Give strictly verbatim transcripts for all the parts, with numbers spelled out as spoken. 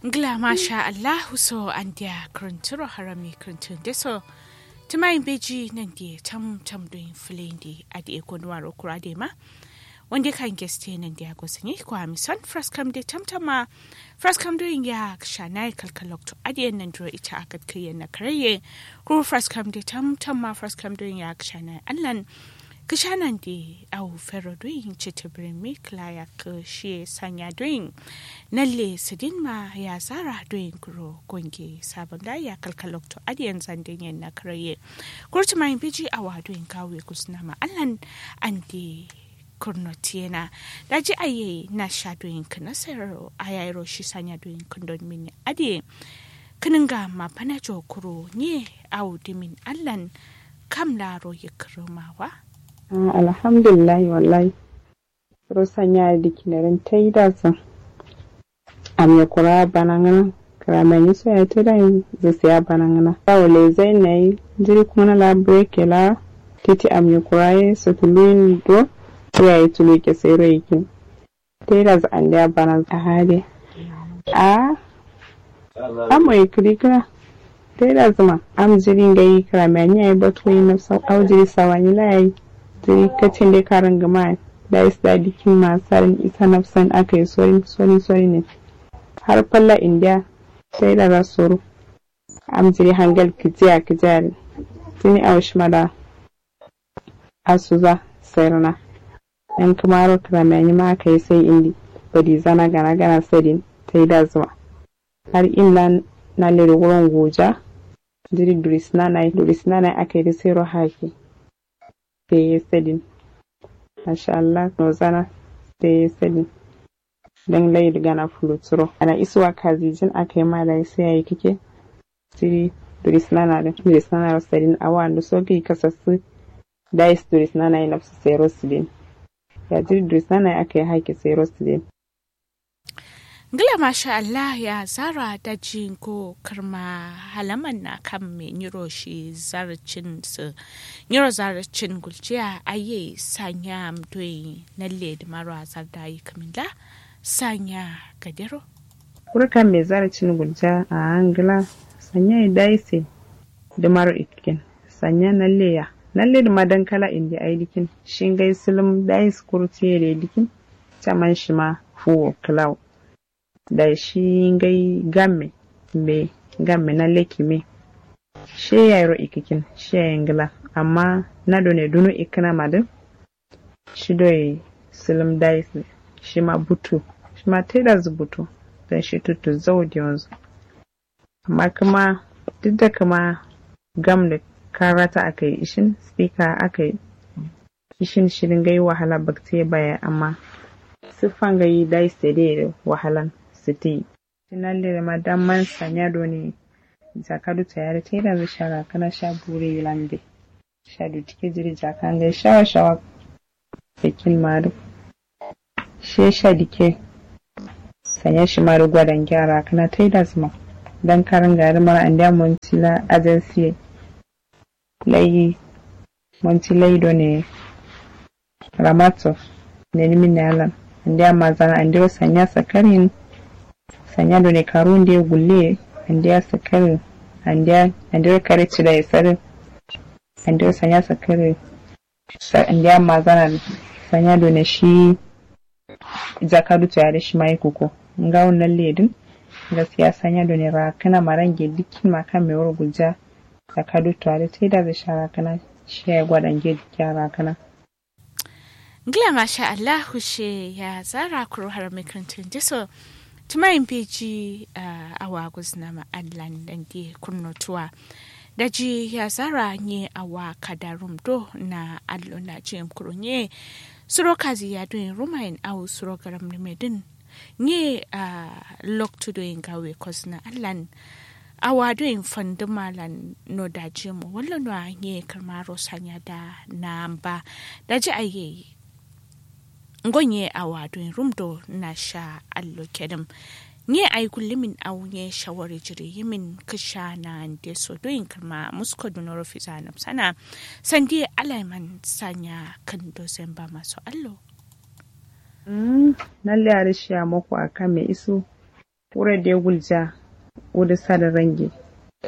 Ngla masha allahu so andiya kǝrǝntǝro harami kǝrǝntǝ ndeso. Tǝmayin beji nandiye tam tam doyin fǝleyinde adǝ ye konuwaro kura adǝ ye ma. Wande kan geste nandiya gosǝnyi kwami son fraskam de tam tam ma. Fraskam doyin ya kǝshanaye kalkalokto adǝ ye nandiro ita akǝt kǝyen na karaye. Kuru fraskam de tam tam ma fraskam doyin ya kǝshanaye allan. Kǝshanande awo fero doyin citǝ bǝrǝmmi kǝla yakkǝ shiye sanya doyin. Nalle sǝdin ma ya zara doyin kuro gonge sabon da ya kalkalokto adiyan zanden yen na karaye. Kurtu mayin biji awa doyin kawe gusna ma allan ande kurnotiyena. Daji aye na sha doyin kǝna sayaro ayairo shi sanya doyin kǝndon mini adiye. Kǝnǝnga ma bana jo kuro nye awo dimin allan kam laro yikkǝrǝmawa. Alhamdulillahi wallahi. Suro sanya dikkinerin taidazǝ. Amye kura banangǝna. Kǝramenyi so yayi taidazǝ siya banangǝna awo lezai nayi. Jiri kungǝna la breke la titi amye kura ye sotuluyin do. Yayi tulu ke sairo yikin. Taidazǝ andeya banazǝ ahade. A amo ye kǝri kǝra. Taidazǝ ma am jiri ngai kǝrame anyi yayi batu gai nafsa au jiri sawanyi la yayi. Jiri katin de karǝngǝma yayi. Dai sǝda dikkin ma sarin isa nafsan aka yi sorin sorin sorin ne. Har falla indiya. Taidazǝ soro. Am jiri hangal kǝjiya kǝjiya din. Tuni au shima da asuza sairna. Yan kǝmaro kǝrame anyi ma aka yi sai indi. Badizana gana gana sadin taidazǝ ma. Har imlan nalledo wuron guja. Jiri durisnanayi durisnanayi aka yi dǝ sairo haki. Seye sadin. Masha allah nozana. Seye sadin. Dan layi dǝ gana fulutsuro ana isuwa kazijin aka yi ma dayi sai yayi kǝke. Siri durisnana dǝ durisnana ro sadin awo andu so gǝyi kasassu. Dai sǝ durisnanayi nafsu sairo sǝdin. Ya jiri durisnanayi aka yi haki sairo sǝdin. Ngla masha allah ya zara daji ngo kǝrma halaman na kamme nyiro shi zarcin sǝ. Nyiro zarcin gulciya aye sanya mdoi nalle dǝmaro azar dayi kǝminda. Sanya gadero. Kuru kamme zarcin gulciya a ngla sanya ye dayi se. Dǝmaro ikkin sanya nalle ya nalle dǝma dankala indi ai dǝkin. Shi ngai sǝlǝm dayi sǝ kuru tiye de dǝkin. Caman shima fuwo kǝlawo. Dai shi ngai gamme mbe gamme na leki me. She yairo ikikin she yayi ngla. Amma na done duno ikkǝna ma dǝ. Shi doi sǝlǝm dai sǝ shima butu. Shima taidazǝ butu. Dan shi tuttu zau diyonzǝ. Amma kǝma duk da kǝma gam dǝ karata akai ishin spika akai ishin shi dǝ ngai wahala baktiye baye amma sǝffa ngai dai sede dǝ wahalan sǝtiyi. Shi nalle dǝ ma damman sanya done jaka dutso yadǝ taidazǝ sha rakǝna sha bure yilan be. Sha dutike jiri jaka ngai shawa shawa. Sakin ma dǝ she sha dike. Sanya shima dǝ gwadange a rakǝna taidazǝ ma dan karǝnga dǝ mara andeya monti la ajansiye. Lai monti lai done ramatso nenimin ne alan. Andeya mazana andero sanya sakarin. Sanya done karu nde gulle andeya sakarin. Andeya andero kare cida ye sarin. Andero sanya sakarin. Ndeya mazana sanya done shi. Jaka dutso yadǝ shima yi kuko ngawo nalle dǝn. Gaskiya sanya done rakǝna marange dukkin ma kamme wuro gulja. Jaka dutso yadǝ taidazǝ sha rakǝna. Shi yayi gwadange dukkiya rakǝna. Ngla masha allahu she ya zara kuru har mikrintun diso. Tǝmayin beji awa guzǝna ma allan dande kurno tuwa. Daji ya zara nye awa kada rum do na allo na jiyem kuro nye. Suro kazi ya doyin rumayin awo suro garam nume dǝn. Nye loktu doyin gawe kozǝna allan. Awa doyin fandǝma lan no da jiyem wallo no a nye kǝrmaro sanya da na amba. Daji aye ngo nye awa doyin rum do na sha allo kedǝm. Nye ai gullumin au nye shawari jiri yimin kǝsha na nde so doyin kǝrma musko dunoro fiza nabsana. Sandi alaiman sanya kǝndo zemba maso allo. Nalle adǝ shiya moko a kamme isu. Wuro de gulja. Wudu sadin range.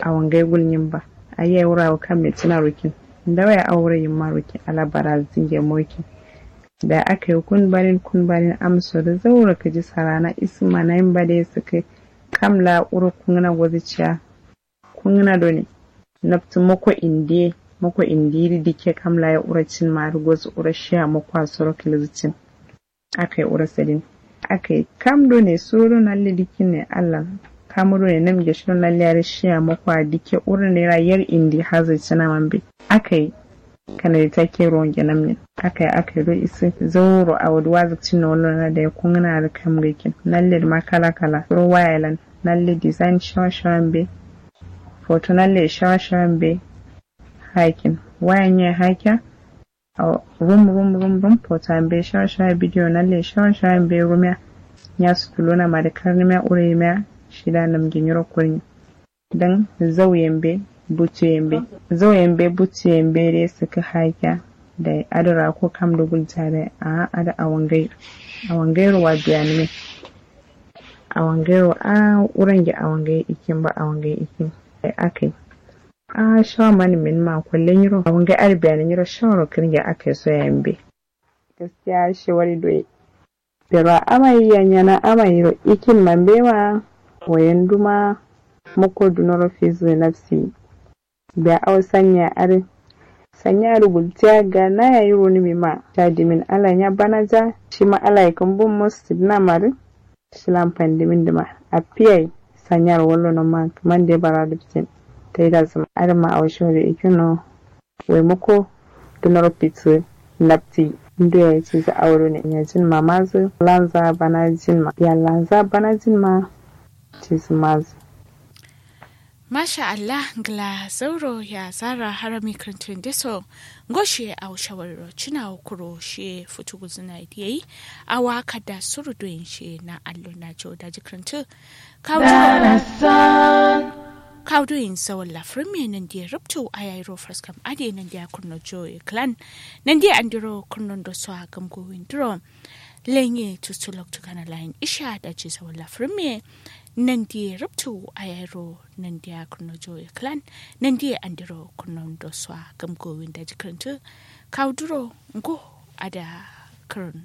Awo ngai gulnyin ba. Ayya wuro awo kamme cina rukin. Ndawa ya awo wuro yimma rukin ala barazinge mokin. Da aka yi kun barin kun barin amso da zauro kaji sarana isma na yin ba da ya saka. Kam la wuro kunguna gozi ciya. Kunguna done. Naftu mako indiye mako indiri dike kam la ya wuro cin ma da gozi wuro shiya mako a soro kilizicin. Akai wuro sadin. Akai kam done suro do nalle dikin ne allah. Kamu done nam geshi do nalle yare shiya mako a dike wuro ne ra yar indi hazi cina mambe. Akai kanadi take ruwan genam ne. Akai akai do isi zauro a wadu wazi cin no wallo na da ya kunguna da kam gaikin nalle ma kala kala suro waya lan. Nalle design shawa shawa mbe. Foto nalle shawa shawa mbe. Hakin waya nye hakiya. Rum rum rum rum foto ambe shawa shawa bidiyo nalle shawa shawa mbe rumiya. Nya sutuluna ma da karnimiya uremiya. Shida namge nyiro kurni. Dan zau yambe butu yambe. Zau yambe butu yambe de saka hakiya. Da adara ko kam da gulta da a ada awangai. Awangai ruwa biya nime. Awangai ruwa a wurange awangai ikin ba awangai ikin. Akai a shawa mani min ma kwalle nyiro awangai arbiya ni nyiro shawaro kirge akai so yambe. Gaskiya shawari doye. Pero amai ya nyana amai ro ikin mambe ma. Wayan duma. Mako dunoro fizu nafsi. Biya awo sanya are. Sanya are gultiya ga na yayi roni mi ma ta dimin ala nya bana ja. Shima ala yakan bun musu dina mari. Shilan fandimin dima. Afiyai. Sanya ro wallo no ma kaman de bara dubsin. Tai da zuma are ma awo shawari ikino. Wai mako dunoro fitu. Nafti. Ndu yayi cizi awo done nyajin ma mazu lanza bana jin ma ya lanza bana jin ma. Cizi mazu. Masha allah ngla zauro ya zara harami kǝrǝntǝ ndeso. Ngo shiye awo shawariro cǝna wo kuro shiye futu guzǝna ye diye yi. Awa kadda suru doyin shiye na allo na jo daji kǝrǝntǝ. Kawu doyin zawalla fǝrǝm ye nandiye rubtu ayayiro faraskam adǝ ye nandiya kǝrno jo ye kǝlan. Nandiye andiro kǝrno ndoso a gǝm gowin duro. Lenye tustu loktu kana layin isha daji zawalla fǝrǝm ye. Nandiye rubtu ayayiro nandiya kǝrno jo ye kǝlan. Nandiye andiro kǝrno ndoso a gǝm gowin daji kǝrǝntǝ. Kawu duro ngo adǝ a kǝrǝno.